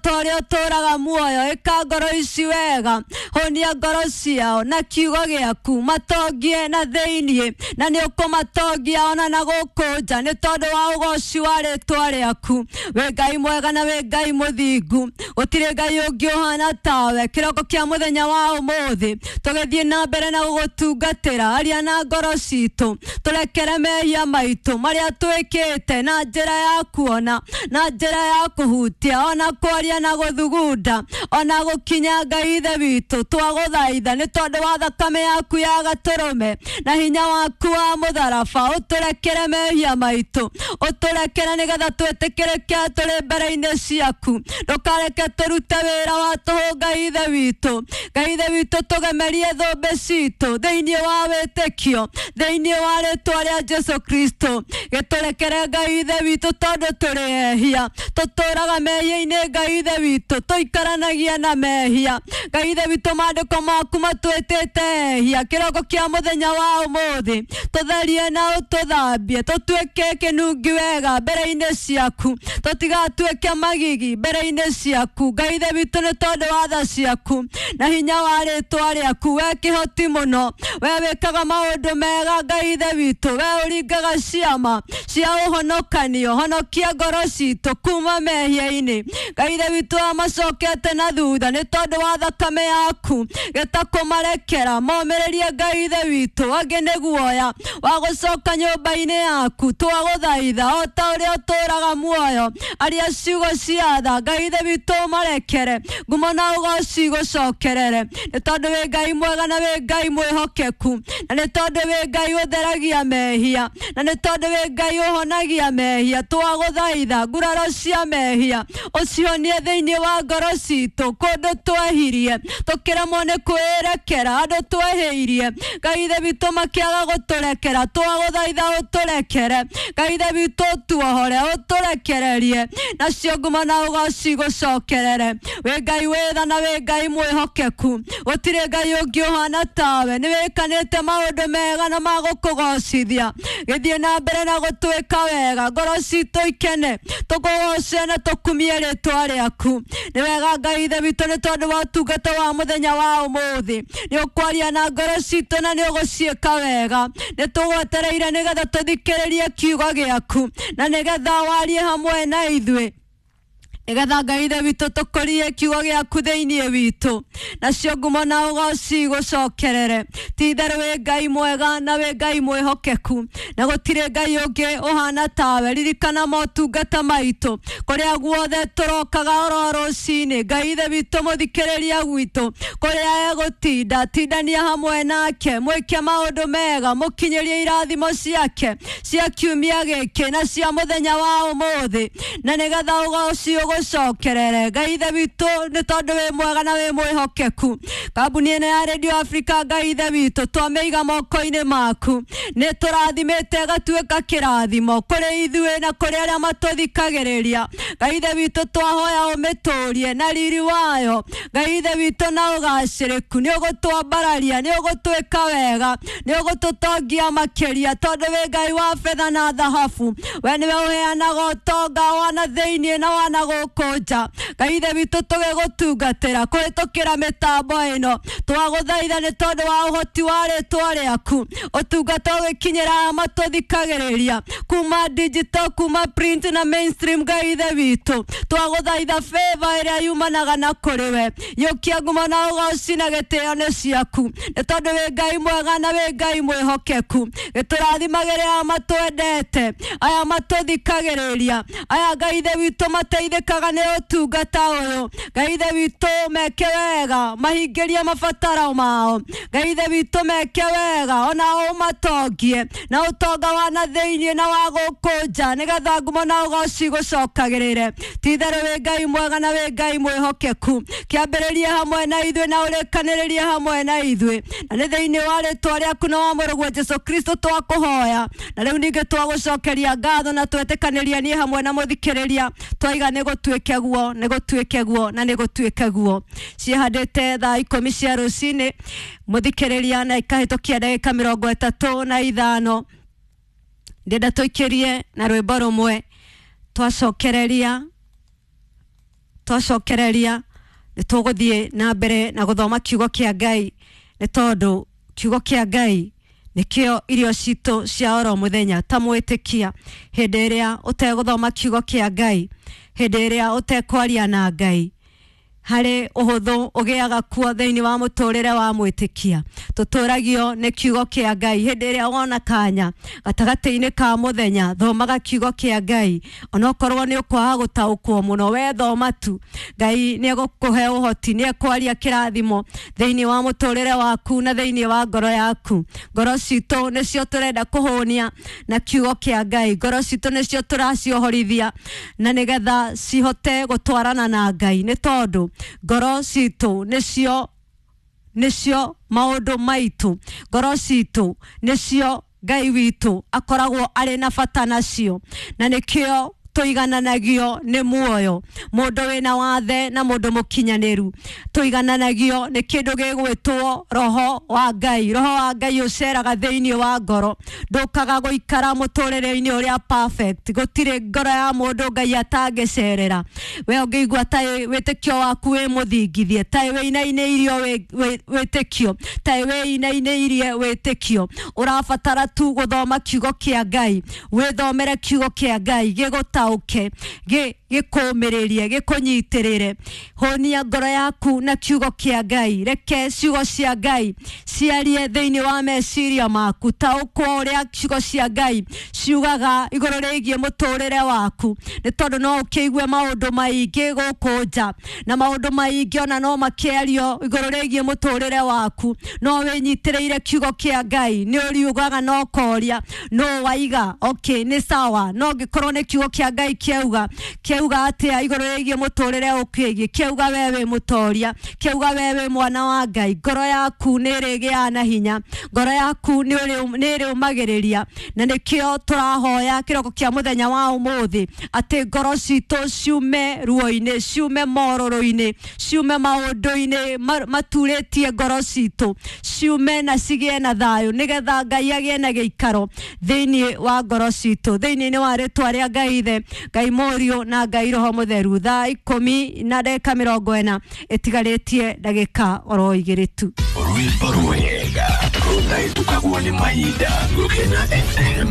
ta ũrĩa ũtũũraga muoyo, ĩka ngoro ici wega, honia ngoro ciao na kiugo gĩaku, matongie na thĩiniĩ, na nĩ ũkũmatongia ona na gũkũ nja nĩ tondũ wa ũgoci wa rĩtwa rĩaku. Wĩ Ngai mwega na wĩ Ngai mũthingu, gũtirĩ Ngai ũngĩ ũhana tawe. Kĩroko kĩa mũthenya wa ũmũthĩ tũgĩthiĩ na mbere na gũgũtungatĩra, aria na ngoro citũ, tũrekere mehia maitũ marĩa twĩkĩte na njĩra ya kuona, na njĩra ya kũhutia, ona kwaria na gũthugunda, ona gũkinya. Ngai Ithe witũ, twagũthaitha nĩ tondũ wa thakame yaku ya gatũrũme na hinya waku wa mũtharaba, ũtũrekere mehia maitũ, ũtũrekere nĩgetha twĩtĩkĩrĩke tũrĩ mbere-inĩ ciaku. Ndũkareke tũrute wĩra wa tũhũ, Ngai Ithe witũ. Ngai Ithe witũ, tũgemerie thũmbĩ citũ thĩinĩ wa wĩtĩkio, thĩinĩ wa rĩtwa rĩa Jesu Kristo. Gĩtũrekere, Ngai Ithe witũ, tondũ tũrĩ ehia, tũtũraga mehia-inĩ. Ngai Ithe witũ, tũikaranagia na mehia. Ngai Ithe witũ, maandĩko maku matwĩtĩte ehia. Kĩroko kĩa mũthenya wa ũmũthĩ, tũtherie na ũtũthambie, tũtuĩke kĩnungi wega mbere-inĩ ciaku, tũtigatuĩke magigi mbere-inĩ ciaku. Ngai Ithe witũ, nĩ tondũ wa tha ciaku na hinya wa rĩtwa rĩaku, we kĩhoti mũno, we wĩkaga maũndũ mega. Ngai Ithe witũ, we ũringaga ciama cia ũhonokanio, honokia ngoro citũ kuma mehia-inĩ. Ngai Ithe witũ, amacokete na thutha, nĩ tondũ wa thakame yaku gĩtakũmarekera, momĩrĩrie, Ngai Ithe witũ. Angĩ nĩ guoya wa gũcoka nyũmba-inĩ yaku, twagũthaitha o ta ũrĩa ũtũũraga muoyo, aria ciugo cia tha. Ngai Ithe witũ, ũmarekere, ngumo na ũgoci gũcokerere, nĩ tondũ wĩ Ngai mwega na wĩ Ngai mwĩhokeku, na nĩ tondũ wĩ Ngai ũtheragia mehia, na nĩ tondũ wĩ Ngai ũhonagia mehia. Twagũthaitha nguraro cia mehia ũcihonie thĩinĩ wa ngoro citũ, kũndũ twehirie tũkĩremwo nĩ kwĩrekera, andũ twehĩirie, Ngai Ithe witũ, makĩaga gũtũrekera, twagũthaitha ũtũrekere. Ngai Ithe witũ, ũtuohore, ũtũrekererie, nacio ngumo na ũgoci gũcokerere. Wĩ Ngai wĩ tha na wĩ Ngai mwĩhokeku, gũtirĩ Ngai ũngĩ ũhana tawe. Nĩ wĩkanĩte maũndũ mega na magũkũgocithia, gĩthiĩ na mbere na gũtwĩka wega, ngoro citũ ikene, tũkũgoce na tũkumie rĩtwa rĩaku. Nĩ wega, Ngai Ithe witũ, nĩ tondũ wa ũtungata wa mũthenya wa ũmũthĩ, nĩ ũkwaria na ngoro citũ na nĩ ũgũciĩka wega. Nĩ tũgwetereire nĩgetha tũthikĩrĩrie kiugo gĩaku na nĩgetha warie hamwe na ithuĩ, nĩgetha, Ngai Ithe witũ, tũkũrie kiugo gĩaku thĩinĩ witũ, nacio ngumo na ũgoci gũcokerere. Ti itherũ wĩ Ngai mwega na wĩ Ngai mwĩhokeku, na gũtirĩ Ngai ũngĩ ũhana tawe. Ririkana motungata maitũ kũrĩa guothe tũrokaga oro rũcinĩ. Ngai Ithe witũ, mũthikĩrĩria gwitũ kũrĩa egũtinda, tindania hamwe nake, mwĩke maũndũ mega, mũkinyĩrie irathimo ciake cia kiumia gĩkĩ na cia mũthenya wa ũmũthĩ, na nĩgetha ũgoci ũgũcokerere, Ngai Ithe witũ, nĩ tondũ wĩ mwega na wĩ mwĩhokeku. Kambuni ĩno ya Radio Africa, Ngai Ithe witũ, twamĩiga moko-inĩ maku. Nĩ tũrathimĩte ĩgatuĩka kĩrathimo kũrĩ ithuĩ na kũrĩ arĩa matũthikagĩrĩria. Ngai Ithe witũ, twahoya ũmĩtũrie na riri wayo, Ngai Ithe witũ, na ũgacĩrĩku. Nĩ ũgũtwambararia, nĩ ũgũtwĩka wega, nĩ ũgũtũtongia makĩria, tondũ wĩ Ngai wa betha na thahabu. We nĩwe ũheanaga ũtonga wa na thĩinĩ na wa na gũkũ nja. Ngai Ithe witũ, tũgĩgũtungatĩra kũhĩtũkĩra mĩtambo ĩno, twagũthaitha nĩ tondũ wa ũhoti wa rĩtwa rĩaku, ũtungata ũgĩkinyĩra aya matũthikagĩrĩria kuma digital, kuma print na mainstream. Ngai Ithe witũ, twagũthaitha favor ĩrĩa yumanaga na kũrĩ we, yũkia ngumo na ũgoci na gĩtĩo nĩ ciaku, nĩ tondũ wĩ Ngai mwega na wĩ Ngai mwĩhokeku. Gĩtũrathimagĩre aya matwendete, aya matũthikagĩrĩria, aya, Ngai Ithe witũ, mateithĩkaga nĩ ũtungata ũyũ. Ngai Ithe witũ, meke wega, mahingĩrie mabataro mao. Ngai Ithe witũ, meke wega, ona ũmatongie na ũtonga wa na thĩinĩ na wa gũkũ nja, nĩgetha ngumo na ũgoci gũcokagĩrĩre. Ti itherũ wĩ Ngai mwega na wĩ Ngai mwĩhokeku. Kĩambĩrĩrie hamwe na ithuĩ na ũrĩkanĩrĩrie hamwe na ithuĩ, na nĩ thĩinĩ wa rĩtwa rĩaku na wa mũrũguo Jesu Kristo twakũhoya, na rĩu ningĩ twagũcokeria ngatho na twetĩkanĩria niĩ hamwe na mũthikĩrĩria, twaiga nĩ gũtuĩke guo, nĩ gũtuĩke guo, na nĩ gũtuĩke guo. Ciĩhandĩte thaa 10 cia rũcinĩ, mũthikĩrĩria, na ikahĩtũkia ndagĩka 35. Ndĩenda tũikĩrie na rwĩmbo rũmwe, twacokereria. Twacokereria nĩ tũgũthiĩ na mbere na gũthoma kiugo kĩa Ngai, nĩ tondũ kiugo kĩa Ngai nĩkĩo irio citũ cia oro mũthenya. Ta mwĩtĩkia, hĩndĩ ĩrĩa ũtegũthoma kiugo kĩa Ngai, hĩndĩ ĩrĩa ũtekwaria na Ngai, harĩ ũhũthũ ũgĩaga kuo thĩinĩ wa mũtũrĩre wa mwĩtĩkia. Tũtũragio nĩ kiugo kĩa Ngai. Hĩndĩ ĩrĩa wona kanya gatagatĩ-inĩ ka mũthenya, thomaga kiugo kĩa Ngai, onokorwo nĩ ũkwaga gũtaũkwo mũno, we thoma tu, Ngai nĩ egũkũhe ũhoti, nĩ ekwaria kĩrathimo thĩinĩ wa mũtũrĩre waku na thĩinĩ wa ngoro yaku. Ngoro citũ nĩcio tũrenda kũhũnia na kiugo kĩa Ngai, ngoro citũ nĩcio tũraciohorithia na nĩgetha cihote gũtwarana na Ngai, nĩ tondũ ngoro citũ nĩcio maũndũ maitũ, ngoro citũ nĩcio Ngai witũ akoragwo arĩ na bata nacio, na nĩkĩo tũigananagio nĩ muoyo. Mũndũ wĩna wathe na mũndũ mũkinyanĩru tũigananagio nĩ kĩndũ gĩgwĩtwo roho wa Ngai. Roho wa Ngai ũceraga thĩinĩ wa ngoro, ndũkaga gũikara mũtũrĩre-inĩ ũrĩa perfect. Gũtirĩ ngoro ya mũndũ Ngai atangĩcerera. We ũngĩigua ta wĩtĩkio waku wĩ mũthingithie, ta wĩinainĩirio wĩtĩkio, ta wĩinainĩirie wĩtĩkio, ũrabatara tu gũthoma kiugo kĩa Ngai. Wĩthomere kiugo kĩa Ngai gĩgũtaũke, gĩkũmĩrĩrie, gĩkũnyitĩrĩre. Hũnia ngoro yaku na kiugo kĩa Ngai. Reke ciugo cia Ngai ciarie thĩinĩ wa meciria maku. Taũkwo ũrĩa ciugo cia Ngai ciugaga igũrũ rĩgiĩ mũtũrĩre waku, nĩ tondũ no ũkĩigue maũndũ maingĩ gũkũ nja, na maũndũ maingĩ ona no makĩario igũrũ rĩgiĩ mũtũrĩre waku, no wĩnyitĩrĩire kiugo kĩa Ngai. Nĩ ũriugaga na ũkoria no waiga okay, nĩ sawa, no ngĩkorwo nĩ kiugo kĩa Ngai kĩauga, kĩauga atĩa igũrũ rĩgiĩ mũtũrĩre ũkĩgiĩ, kĩauga we wĩ mũtoria, kĩauga we wĩ mwana wa Ngai, ngoro yaku nĩ ĩrĩgĩaga na hinya, ngoro yaku nĩ ĩrĩũmagĩrĩria. Na nĩkĩo tũrahoya kĩroko kĩa mũthenya wa ũmũthĩ atĩ ngoro citũ ciume ruo-inĩ, ciume morũrũ-inĩ, ciume maũndũ-inĩ maturĩtie ngoro citũ, ciume na cigĩe na thayũ, nĩgetha Ngai agĩe na gĩikaro thĩinĩ wa ngoro citũ. Thĩinĩ wa rĩtwa rĩa Ngai Ithe, Ngai Mũriũ na Ngai Roho Mũtheru. Thaa 10:40 ĩtigarĩtie ndagĩka oro 2 tu. Rwĩmbo rwega rũtahĩtũkagwo nĩ mahinda. Gũkena FM.